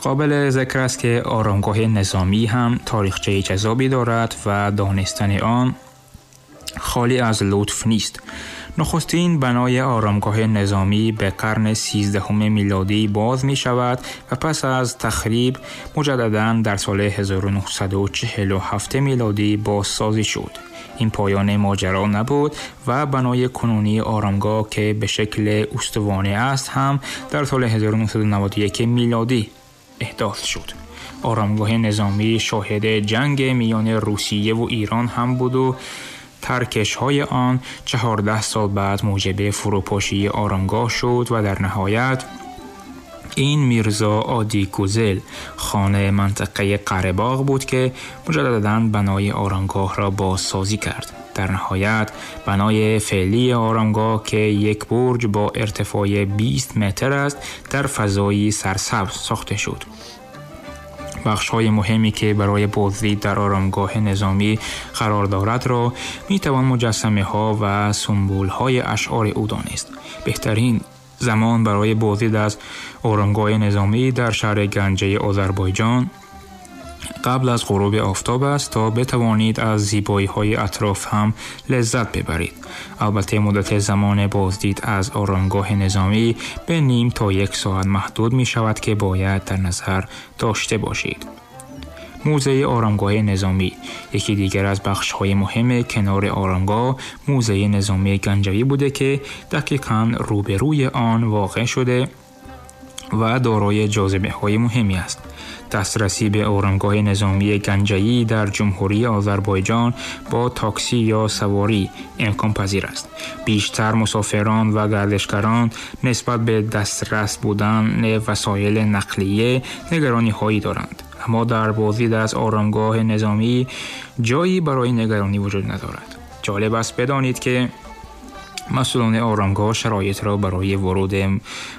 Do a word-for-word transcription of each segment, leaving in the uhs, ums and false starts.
قابل ذکر است که آرامگاه نظامی هم تاریخچه جذابی دارد و دانستن آن خالی از لطف نیست. نخستین بنای آرامگاه نظامی به قرن سیزدهم میلادی باز می شود و پس از تخریب مجدداً در سال هزار و نهصد و چهل و هفت میلادی بازسازی شد. این پایان ماجرا نبود و بنای کنونی آرامگاه که به شکل استوانه است هم در سال هزار و نهصد و نود و یک میلادی احداث شد. آرامگاه نظامی شاهد جنگ میان روسیه و ایران هم بود و ترکش‌های آن چهارده سال بعد موجب فروپاشی آرامگاه شد و در نهایت این میرزا آدی گوزل خانه منطقه قره‌باغ بود که مجدداً بنای آرامگاه را بازسازی کرد. در نهایت بنای فعلی آرامگاه که یک برج با ارتفاع بیست متر است در فضایی سرسبز ساخته شد. بخش‌های مهمی که برای بازدید در آرامگاه نظامی قرار دارد را می‌توان مجسمه‌ها و سمبول‌های اشعار او دانست. بهترین زمان برای بازدید از آرامگاه نظامی در شهر گنجه آذربایجان قبل از غروب آفتاب است تا بتوانید از زیبایی‌های اطراف هم لذت ببرید. البته مدت زمان بازدید از آرامگاه نظامی به نیم تا یک ساعت محدود می شود که باید در نظر داشته باشید. موزه آرامگاه نظامی یکی دیگر از بخش‌های مهم کنار آرامگاه موزه نظامی گنجوی بوده که دقیقاً روبروی آن واقع شده و دارای جاذبه‌های مهمی است. دسترسی به آرامگاه نظامی گنجه‌ای در جمهوری آذربایجان با تاکسی یا سواری امکان پذیر است. بیشتر مسافران و گردشگران نسبت به دسترس بودن وسایل نقلیه نگرانی‌هایی دارند، اما در بازدید از آرامگاه نظامی جایی برای نگرانی وجود ندارد. جالب است بدانید که مسئولان آرامگاه شرایط را برای ورود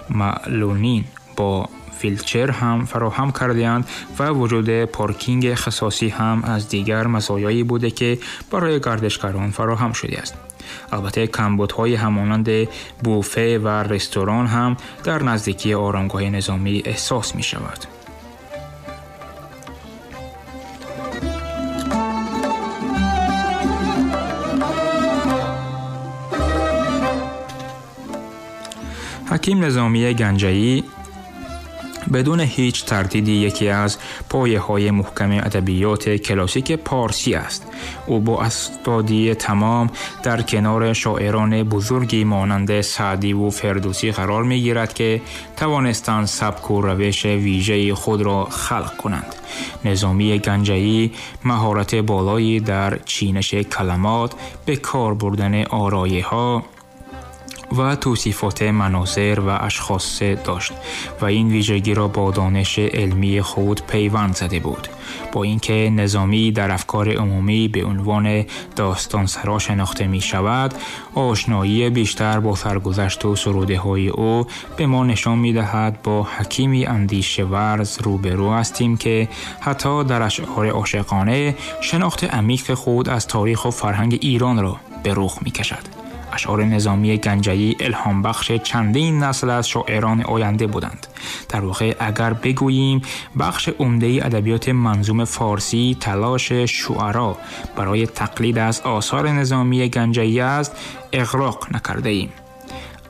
معلولین با ویلچر هم فراهم کرده‌اند و وجود پارکینگ اختصاصی هم از دیگر مزایایی بوده که برای گردشگران فراهم شده است. البته کمبودهای همانند بوفه و رستوران هم در نزدیکی آرامگاه نظامی احساس می شود. حکیم نظامی گنجه‌ای بدون هیچ تردیدی یکی از پایه‌های محکم ادبیات کلاسیک پارسی است. او با استادی تمام در کنار شاعران بزرگی مانند سعدی و فردوسی قرار می‌گیرد که توانستند سبک و روش ویژه خود را خلق کنند. نظامی گنجه‌ای مهارت بالایی در چینش کلمات، به کار بردن آرایه‌ها و توصیفات مناظر و اشخاص داشت و این ویژگی را با دانش علمی خود پیوند زده بود. با اینکه نظامی در افکار عمومی به عنوان داستانسرا شناخته می شود، آشنایی بیشتر با سرگذشت و سروده های او به ما نشان می دهد با حکیمی اندیشه ورز روبرو هستیم که حتی در اشعار عاشقانه شناخت عمیق خود از تاریخ و فرهنگ ایران را به رخ می کشد. اشعار نظامی گنجه‌ای الهام بخش چندین نسل از شاعران آینده بودند. در واقع اگر بگوییم بخش عمده ادبیات منظوم فارسی تلاش شعرا برای تقلید از آثار نظامی گنجه‌ای است، اغراق نکرده ایم.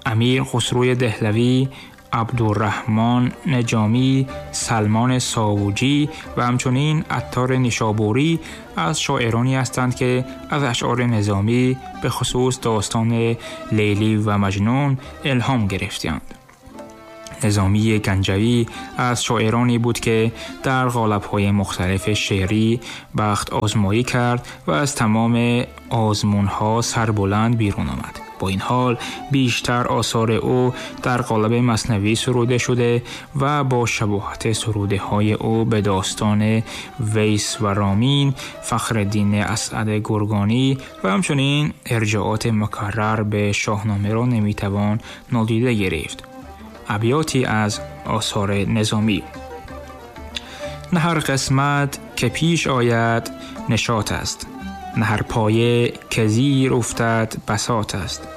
امیر خسرو دهلوی، عبدالرحمن نجامی، سلمان ساوجی و همچنین عطار نیشابوری از شاعرانی هستند که از اشعار نظامی به خصوص داستان لیلی و مجنون الهام گرفتند. نظامی گنجوی از شاعرانی بود که در قالب‌های مختلف شعری بخت آزمایی کرد و از تمام آزمون‌ها سربلند بیرون آمد. با این حال بیشتر آثار او در قالب مثنوی سروده شده و با شباهت سروده های او به داستان ویس و رامین، فخرالدین اسعد گرگانی و همچنین ارجاعات مکرر به شاهنامه را نمیتوان نادیده گرفت. ابیاتی از آثار نظامی: نه هر قسمت که پیش آید نشاط است، نه هر پایه که زیر افتد بساط است.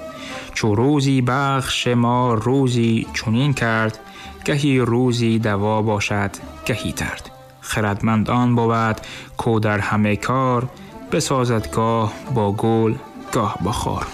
چو روزی بخش ما روزی چنین کرد، گهی روزی دوا باشد گهی درد. خردمند آن بود کو در همه کار، بسازد گاه با گل گاه با خار.